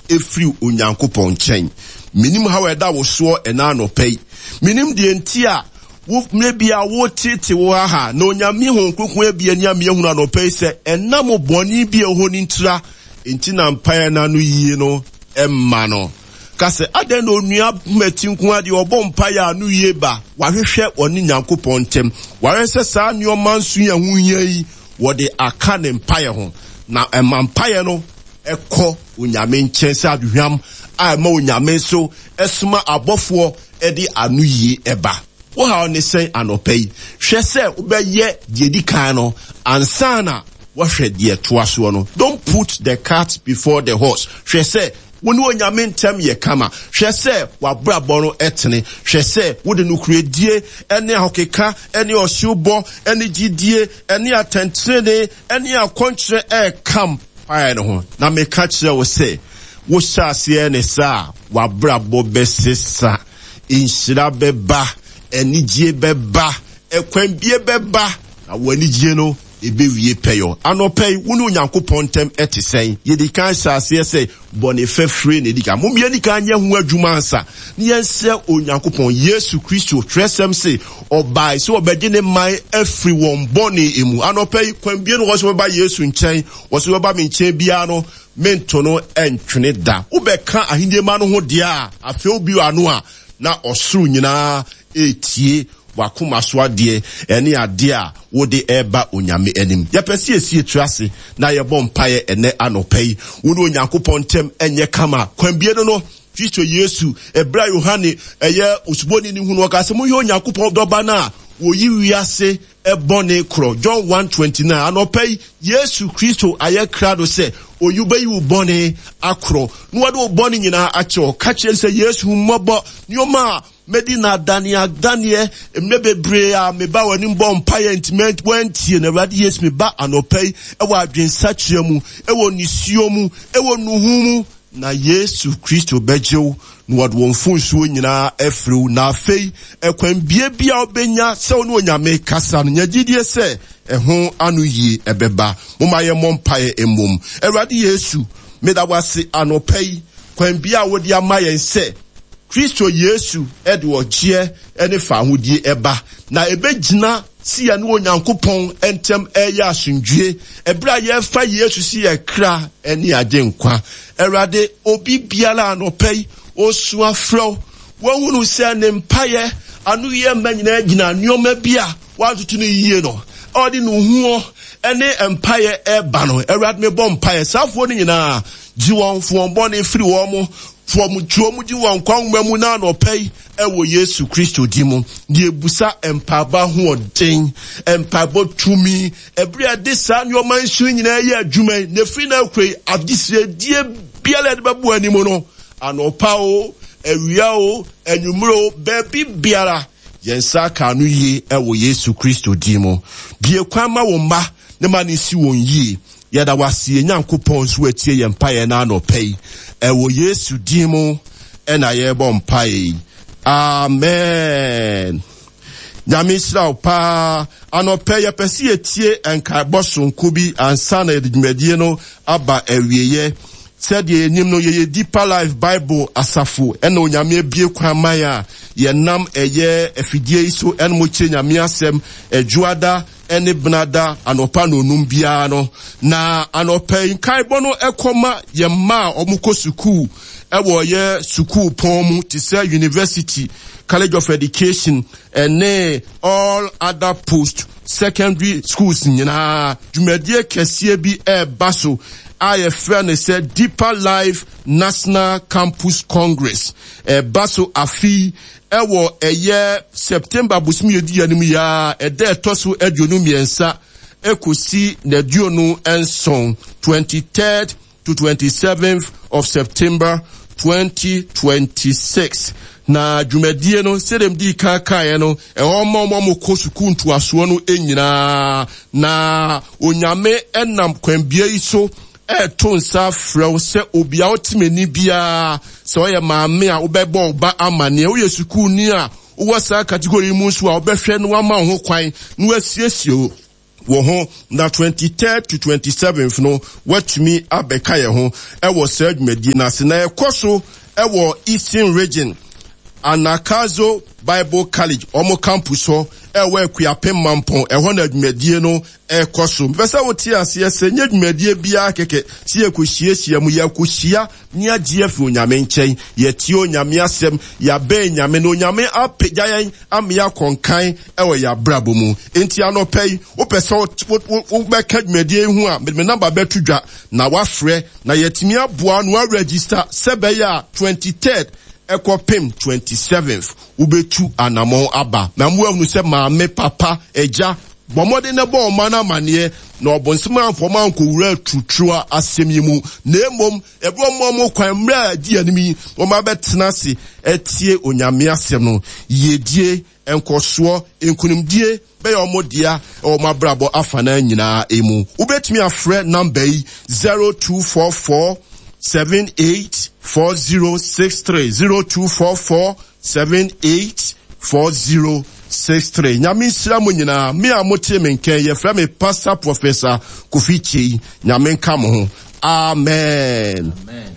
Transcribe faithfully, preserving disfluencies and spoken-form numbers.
ɛfiri Onyankopɔn nkyɛn. Menim haw a ɛda wo soɔ ɛna anɔpa yi. Menim deɛ nti a wo mmerɛ bi a wotete wo ha na Onyame Honhom Kronkron abie ani ama yɛahunu anɔpa yi sɛ ɛnam bɔne bi a ɛwɔ hɔ no ntira nti na mpaeɛ no ano yie no ɛmma no. Ka sɛ, adɛn na onua Mati nko ara deɛ ɔbɔ mpaeɛ a ano yie ba? Wahwehwɛ ɔne Nyankopɔn ntam. Wahwɛ sɛ saa nneɛma nson yi a ɛho hia yi wɔde aka ne mpaeɛ ho. Na ɛma mpaeɛ no ɛkɔ Onyame nkyɛn sɛ aduhwam a ɛma Onyame nso ɛsoma abɔfoɔ ɛde ano yie ɛba. Wo haw ne sɛn anɔpa yi? Hwɛ sɛ wobɛyɛ deɛ di kan no ansa na wɔhwɛ deɛ toa soɔ no. Don't put the cart before the horse. Hwɛ sɛ wo ne Onyame ntɛm yɛ kama. Hwɛ sɛ w'abrabɔ no ɛtene. Hwɛ sɛ wode nokoredie ɛne ahokeka ɛne ɔhyewbɔ ɛne gyidie ɛne atɛntenene ɛne akɔnkyerɛ ɛɛka mpaeɛ no ho. Na meka kyerɛ wo sɛ wohyɛ aseɛ ne saa a, w'abrabɔ bɛsesa, nhyira bɛba, anigye bɛba, ɛkwanbie bɛba, na w'anigye no ɛbɛwie pɛyɔ. Anɔpa yi, wo ne Onyankopɔn ntɛm ɛte sɛn? Yɛdi kan hyɛ aseɛ sɛ bɔne fɛfiri na ɛdi kan. Mom yɛni kan nyɛ ho adwuma ansa na yɛnsrɛ Onyankopɔn. Yesu Kristo twerɛsɛm se ɔbae sɛ ɔbɛgye ne man afiri wɔn bɔne mu. Anɔpa yi, kwanbie no wɔ sɛ wɔbɛba Yesu nkyɛn. Wɔ sɛ wɔbɛba me nkyɛn biara no, mento no ɛntwene da. Wobɛka ahenni ma no ho deɛ a, afei wobi ano a, na ɔsoro nyinaa ɛretie wakoma so adeɛ ɛne adeɛ a wode ɛreba Onyame anim. Yɛpɛ sɛ yɛsi etiri ase na yɛbɔ mpaeɛ ɛnɛ anɔpa yi. Wo ne Onyankopɔn ntɛm ɛnyɛ kama. Kwanbie no no, Kristo Yesu, ɛberɛ a Yohane ɛyɛ osuboni ne hunu, ɔka sɛ monhwɛ Onyankopɔn dɔba no a wɔyi wiase ɛbɔne korɔ. John one twenty nine. Anɔpa yi, Yesu Kristo ayɛ krado sɛ oyi bɛyi wo bɔne akorɔ na wɔde wo bɔne nyinaa akyɛ wo. Ka kyerɛ sɛ Yesu mmɔbɔ nneɛma a medi na adaneɛ adaneɛ mmerɛ bebree a meba w'anim bɔ mpaeɛ nti wantie no. Awurade Yesu, meba anɔpa yi ɛwɔ adwensakyerɛ mu, ɛwɔ nisuo mu, ɛwɔ nuhu mu, na Yesu Kristo bɛgye wo na wɔde wɔn mfonsuo nyinaa afiri wo. Na afei ɛkwan bie bi a wobɛnya sɛ wo ne Onyame kasa no, nya gyidie sɛ ɛho ano yie ɛbɛba. Momma yɛmmɔ mpaeɛ mmom. Awurade Yesu, meda wo ase anɔpa yi, kwan bi a wode ama yɛn sɛ Kristo Yesu ɛde ɔgyeɛ ɛne fahodie ɛba, na ɛbɛgyina si yɛne Onyankopɔn ntɛm ɛyɛ asomdwie ɛberɛ a yɛfa Yesu si yɛ kra ɛne agye nkwa. Awurade, obi biara anɔpa yi osu afrɛ wo, wahunu sɛ ne mpaeɛ ano yɛ mma nyinaa gyina nneɛma bi a wantoto no yie no, ɔde ne huo ɛne mpaeɛ ɛba no. Awurade, mebɔ mpaeɛ saafoɔ no nyinaa, gye wɔn fo wɔn bɔne firi wɔn mo, fo wɔn tuo mu, gye wɔn nkwa nwoma mu na anɔpa yi ɛwɔ Yesu Kristo din mu. Deɛ ebusa mpaebɔ ahoɔden, mpaebɔ tumi, ɛberɛ a yɛde saa nneɛma nson nyinaa yɛ adwuma yi, na efiri na akɔ yi, adesrɛdeɛ biara yɛde bɛbɔ anim no, anɔpa o, awia o, anwummerɛ o, baabi biara, yɛn nsa aka ano yie ɛwɔ Yesu Kristo din mu. Bie kwan ma wɔn mma ne ma ne si wɔn yie. Yɛda wase yɛn Nyankopɔn nso atie yɛn mpaeɛ na anɔpa yi. Ɛwɔ Yesu din mu ɛna yɛrebɔ mpaeɛ yi. Amen. Nyame nhyira wo paa. Anɔpa yɛpɛ sɛ yɛtie nkaebɔ sononko bi ansa na yɛde dwumadie no aba awieeɛ. Sɛdeɛ yɛnim no, yɛyɛ Deeper Life Bible asafo ɛna Onyame abue kwan man a yɛnam ɛyɛ afidie yi so ɛna mo kyerɛ Nyame asɛm adwuada ɛne benada anɔpa na onum biara no. Na anɔpa yi nkaebɔ no ɛkɔma yɛn mma a wɔn kɔ sukuu ɛwɔ yɛ sukuu pɔn mu te sɛ university, College of Education ɛne all other post secondary schools nyinaa. Dwumadie kɛseɛ bi ɛreba so a yɛfrɛ no sɛ Deeper Life National Campus Congress. Ɛba so afi ɛwɔ ɛyɛ September bosom yɛdi yɛn anim yi a ɛda ɛtɔ so aduonu mmiɛnsa ekosi n'aduonu nson, twenty third to twenty seventh of September twenty twenty six. Na dwumadie no sɛdeɛ mdi kan kaeɛ no, ɛhɔ ma wɔn a wɔkɔ sukuu ntoasoɔ no nyinaa. Na Onyame ɛnam kwanbea yi so ɛɛto nsa frɛ wo sɛ obiara wote m'ani biara, sɛ ɔyɛ maame a wobɛbɔ wo ba amanneɛ, woyɛ sukuuni a wowɔ saa category yi mu nso a wobɛhwɛ na wama wo ho kwan na wasiesie wo wo ho na twenty-third to twenty-seventh no woatumi abɛka yɛn ho ɛwɔ saa dwumadie no ase. Na ɛkɔ so ɛwɔ Eastern Region, Anagkazo Bible College, ɔmo campus hɔ ɛwɔ Akuapem Mampɔn, ɛhɔ na dwumadie no ɛkɔ so. Mpɛ sɛ wote aseɛ sɛ nyɛ dwumadie biara kɛkɛ sɛ yɛkɔhyiahyia mu, yɛkɔhyia ne agye afi Onyame nkyɛn, yɛtie Onyame asɛm, yɛabɛn Nyame na Onyame apagya yɛn ama yɛakɔnkan ɛwɔ yɛn abrabɔ mu. Enti anɔpɛ yi, wopɛ sɛ wobɛka dwumadie yi ho a, mede me namba bɛto dwa na wafrɛ na yɛatumi aboa no aregister sɛ bɛyɛ a twenty-third ɛkɔpem twenty-seventh wobɛtu anammɔn aba. Na mo ahunu sɛ maame, papa, agya, bɔ mmɔden na bɔ ɔma no amanneɛ na ɔbɔnsɛm amfɔma ankɔwura tutuo asɛm yi mu, na mmom ɛberɛ ɔmo ɔmo kwan mmerɛ a adi anim yi, wɔn abɛtena ase ɛtie Onyame asɛm no. Yiedie, nkɔsoɔ, nkonimdie bɛyɛ ɔmo dea ɛwɔ ɔmo abrabɔ afanan nyinaa emu. Wobɛtumi afrɛ namba yi zero two four four seven eight four zero six three, zero two four four seven eight four zero six three. Nyame nhyira mo nyinaa. Me a mote me nkɛn, yɛfrɛ me Pastor Professor Kofi Kyei. Nyame nka mo ho. Amen. Amen.